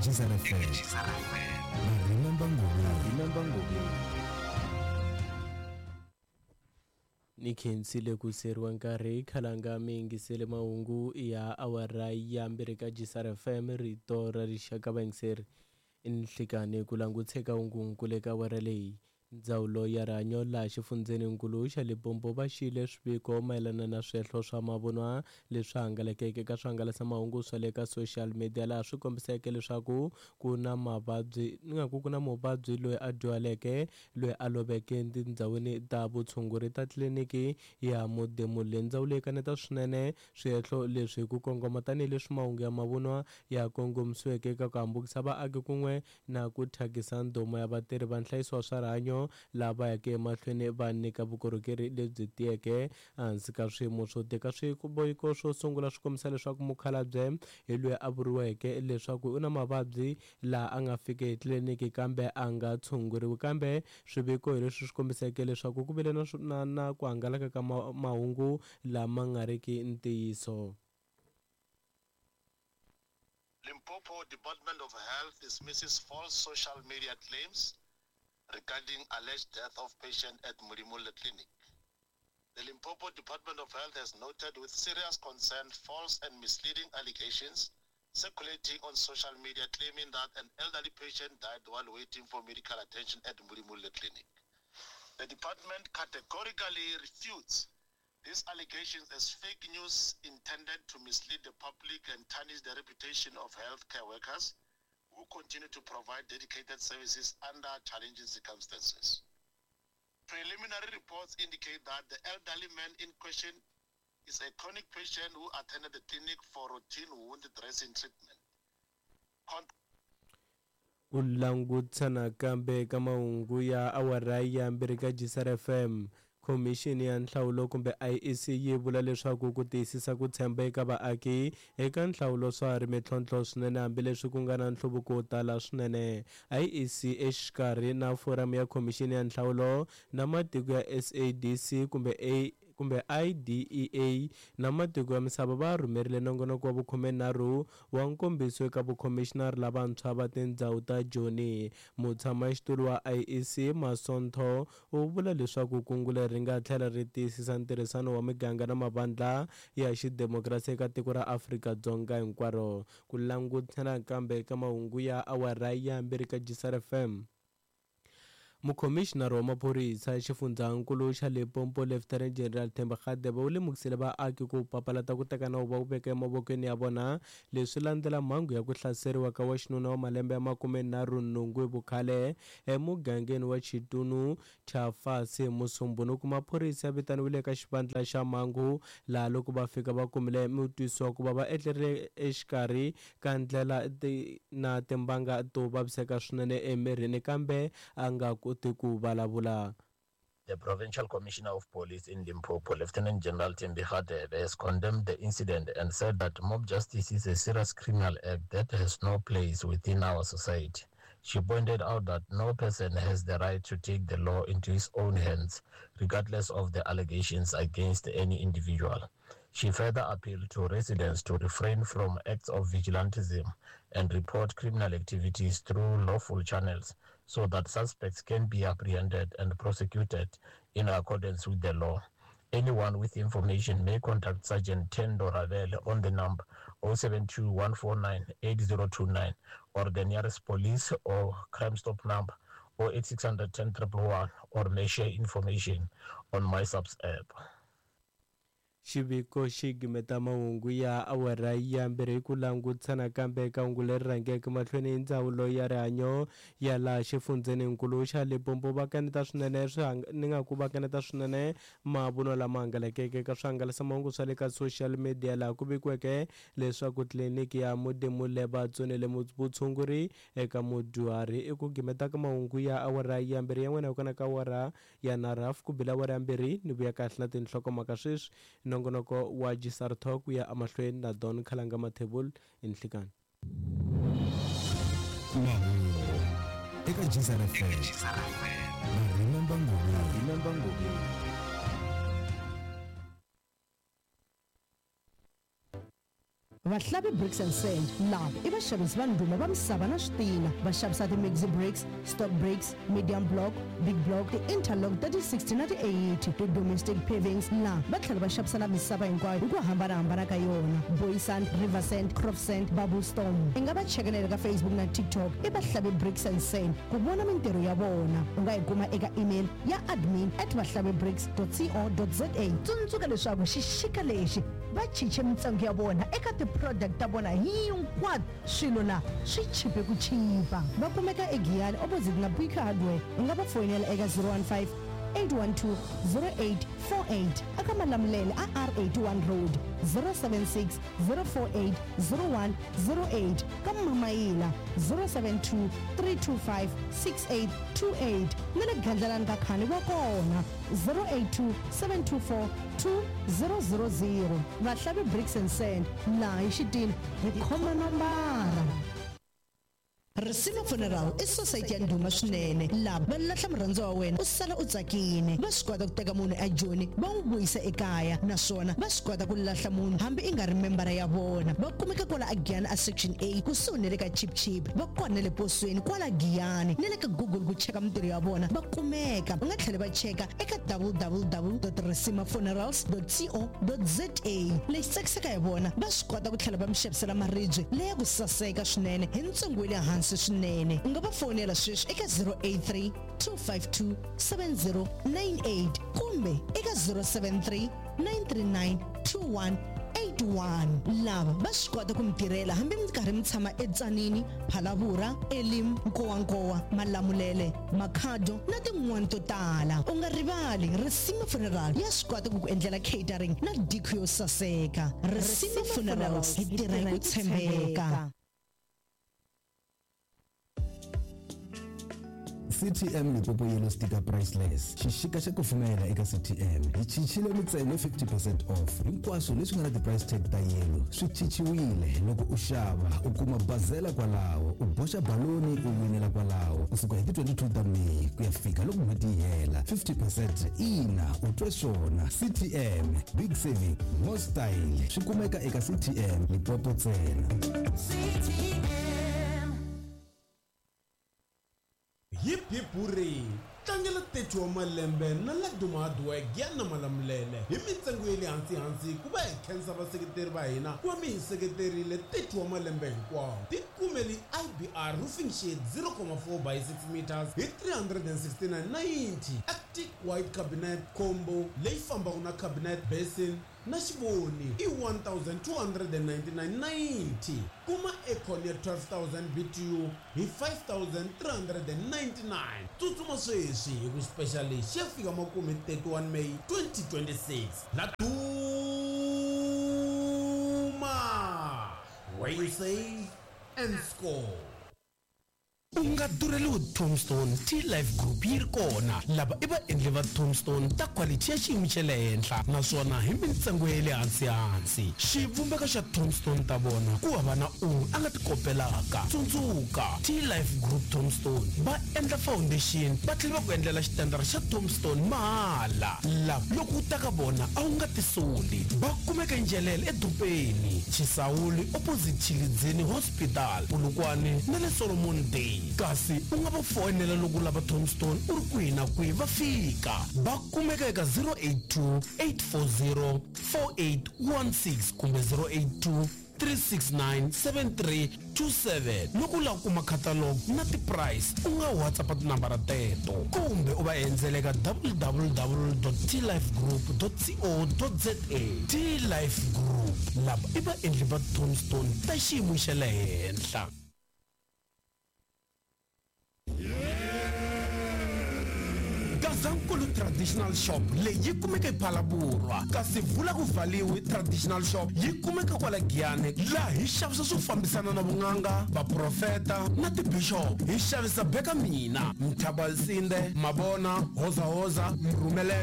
Eka GZR FM na Remember Ngobeni. Ni khensile ku siyeriwa nkarhi khalanga mi yingisele mahungu ya awara ya mbirhi ka GSR FM rito ra rixaka vayingiseri nhlikani ku languteka hungunkulu eka awara leyi. Ndzawulo ya rihanyo laha xifundzheninkulu xa Limpopo va xiyile swiviko mayelana na swihehlo swa mavunwa leswi hangalakeke eka swihangalasamahungu swa le ka social media laha swi kombiseke leswaku ku na mavabyi ni nga ku ku na muvabyi loyi a dyuhaleke loyi a loveke tindhawini ta vutshunguri ta tliliniki ya Modimolle. Ndzawulo yi kaneta swinene swihehlo leswi hi ku kongoma tanihileswi mahungu ya mavunwa ya kongomisiweke eka ku hambukisa vaaki kun'we na ku thyakisa ndhuma ya vatirhi va nhlayiso wa swa rihanyo lava yaka emahlweni va nyika vukorhokeri lebyi tiyeke ehansi ka swiyimo swo tika. Swiviko swo sungula swi kombisa leswaku mukhalabye hi loyi a vuriweke leswaku u na mavabyi laha a nga fiki etliliniki kambe a nga tshunguriwi, kambe swiviko hi leswi swi kombiseke leswaku ku vile na na, na ku hangalaka ka mahungu lama nga riki ntiyiso. Limpopo Department of Health dismisses false social media claims regarding alleged death of patient at Modimolle Clinic. The Limpopo Department of Health has noted with serious concern false and misleading allegations circulating on social media claiming that an elderly patient died while waiting for medical attention at Modimolle Clinic. The department categorically refutes these allegations as fake news intended to mislead the public and tarnish the reputation of healthcare workers who continue to provide dedicated services under challenging circumstances. Preliminary reports indicate that the elderly man in question is a chronic patient who attended the clinic for routine wound dressing treatment. Ku langutisa nakambe ka mahungu ya awara ya mbirhi ka GSR FM. Khomixini ya nhlawulo kumbe IEC yi vula leswaku ku tiyisisa ku tshemba eka vaaki eka nhlawulo swa ha ri mintlhontlho swinene hambileswi ku nga na nhluvuko wo tala swinene. IEC exikarhi na foramu ya khomixini ya nhlawulo na matiko ya SADC kumbe A kumbe IDEA na matiko ya misava va rhumerile nongonoko wa vukhumenharhu wa nkombiso eka vakhomixinari lavantshwa va tindhawu ta Joni. Mutshamaxitulu wa IEC Masontho u vula leswaku kungu leri ri nga tlhela ri tiyisisa ntirhisano wa miganga na mavandla ya xidemokirasi eka tiko ra Afrika-Dzonga hinkwaro. Ku langutana nakambe ka mahungu ya awara ya mbirhi ka GSR FM. Mukhomixinari wa maphorisa xifundzankulu xa Limpopo Lieutenant General Themba Radebe u lemukisile vaaki ku papalata ku teka nawu va wu veka emavokweni ya vona. Leswi landzela mhangu ya ku hlaseriwa ka wa xinuna wa malembe ya 38 hi vukhale emugangeni wa Chitunu Chafasi Musumbhunuku. Maphorisa ya vitaniwile eka xivandla xa mhangu laha loko va fika va kumile mutwisiwa ku va va etlerile exikarhi ka ndlela na timbanga to vaviseka swinene emirini kambe a nga koti ku vulavula. The Provincial Commissioner of Police in Limpopo, Lieutenant General Thembi Radebe, has condemned the incident and said that mob justice is a serious criminal act that has no place within our society. She pointed out that no person has the right to take the law into his own hands, regardless of the allegations against any individual. She further appealed to residents to refrain from acts of vigilantism and report criminal activities through lawful channels so that suspects can be apprehended and prosecuted in accordance with the law. Anyone with information may contact Sergeant Tendo Ravel on the number 072-149-8029 or the nearest police or Crime Stop number 08600 10 111 or may share information on MySAPS app. Xiviko xi gimeta mahungu ya awara ya mbirhi hi ku langutisa nakambe eka hungu leri rhangeke mahlweni hi ndzawulo ya rihanyo ya laha xifundzheninkulu xa Limpopo. Va kaneta swinene ni nga ku va kaneta swinene mavunwa lama hangalakeke eka swihangalasamahungu swa le ka social media laha ku vikiweke leswaku tliliniki ya Modimolle va tsonile vutshunguri eka mudyuhari. I ku gimeta ka mahungu ya awara ya mbirhi ya n'wina hi kona ka awara ya nharhu hafu ku bila awara ya mbirhi ni vuya kahle na tinhlokomhaka sweswi. Nongonoko wa GSR Talk ku ya emahlweni na Don Khalanga Mathebul enhlikani. Mahungu eka GSR FM na Remember Ngobeni. Vahlavi Bricks and Sand lava i vaxavisi va ndhuma va misava na switina. Va xavisa ti-maxi bricks, stock bricks, medium block, big block, ti-interlock ta ti-60 na ti-80, ti-domestic pavings. Laha va tlhela va xavisa na misava hinkwayo hi ku hambanahambana ka yona, boy sand, river sand, crop sand, bubble storm. I nga va cheka na le ka Facebook na TikTok i Vahlavi Bricks and Sand ku vona mintirho ya vona. U nga yi kuma eka email ya admin at vahlavibricks co za. Tsundzuka leswaku xixika lexi va chiche mintsengo ya vona eka ti-product ta vona hinkwato. Swilo la swi chipe ku chipa. Va kumeka eGiyani opposite na Buika Hardware. U nga va foyinela eka 015 812 0848 aka Malamulele a R81 Road, 076 048 0108 ka Mamayila, 072 325 6828 na le Gandlalani ka Khani va kona, 082 724 2000. Vahlavi Bricks and Sand, laha hi xitina hi khoma nombara. Risima Funeral i sosayiti ya ndhuma swinene. Lava va lahla murhandziwa wa wena u sala u tsakile. Va swi kota ku teka munhu eJoni va n'wi vuyisa ekaya, naswona va swi kota ku lahla munhu hambi i nga ri membara ya vona. Va kumeka kwala aGiyani a Section A kusuhi na le ka Chip Chip. Va kona na le posweni kwala Giyani na le ka Google ku cheka mintirho ya vona va kumeka. U nga tlhela va cheka eka www.risimafunerals.co.za. Lexi tsakisaka hi vona, va swi kota ku tlhela va mi xavisela maribye leya ku saseka swinene hi ntsengo wa le hansi swinene. U nga va fonela sweswi eka 083 252 7098 kumbe eka 073 939 2181. Lava va swi kota ku mi tirhela hambi mi karhi mi tshama eTsanini, Phalavura, Elim, Nkowankowa, Malamulele, Makhado na tin'wana to tala. U nga rivali, Risima Funeral ya swi kota ku ku endlela catering na dikhu yo saseka. Risima Funerals, hi tirha hi ku tshembeka. CTM Limpopo Yellow Sticker Priceless. Xixika xa kufumela eka CTM. Hi chichile mintsengo 50% off. Hinkwaswo leswi nga na ti-price tag ta yellow swi chichiwile. Loko u xava u kuma bazela kwalaho, u boxa baloni u winela kwalaho. Kusuka hi ti-22 ta Meyi ku ya fika loko n'hweti yi hela. 50% ina, u twe swona. CTM, big saving, more style. Swi kumeka eka CTM Limpopo ntsena. Hip hip hurray! Tlangela 30 wa malembe na Laduma Hardwork ya na Malamulele hi mintsengo ya le hansi-hansi ku va hi khensa vaseketeri va hina ku va mi hi seketerile 30 wa malembe hinkwawo. Tikumeli IBR roofing sheet 0,4 by 6 meters hi 369.90, Arctic White cabinet combo leyi fambaka na cabinet basin na xivoni i 1299.90. Kuma aircon ya 12000 BTU hi 5399. Tsutsuma sweswi hi ku special lexi ya fika makumu hi 31 May 2026. Laduma, where you save and score. U nga durheliwi Tombstone, T-Life Group yi ri kona. Lava i vaendli va Tombstone ta quality ya xiyimo xa le henhla naswona hi mintsengo ya le hansi-hansi. Xivumbeko xa Tombstone ta vona ku hava na un'we a nga ti kopelaka. Tsundzuka, T-Life Group Tombstone va endla foundation va tlhela va ku endlela xitendara xa Tombstone mahala. Lava loko u ta ka vona a wu nga tisoli. Va kumeka eNjelele edorobeni, Chisawuli opposite Tshilidzini Hospital, Polokwane na le Solomon Day. Kasi u nga va foyinela loko u lava Tombstone u ri kwihi na kwihi va fika. Va kumeka eka 082 840 4816 kumbe 082 369 7327. Loko u lava ku kuma catalog na ti-price u nga WhatsApp tinambara teto kumbe u va endzela eka www.tlifegroup.co.za. T-Life Group, lava i vaendli va Tombstone ta xiyimo xa le henhla. Gazankulu Traditional Shop leyi yi kumeka ePhalaborwa, kasi Vula ku Valiwi Traditional Shop yi kumeka kwala Giyani, laha hi xavisa swo fambisana na vun'anga, vaprofeta na tibishop. Hi xavisa beka mina, Mthabalsinde, Mabona, Hozahoza, Mrhumelele.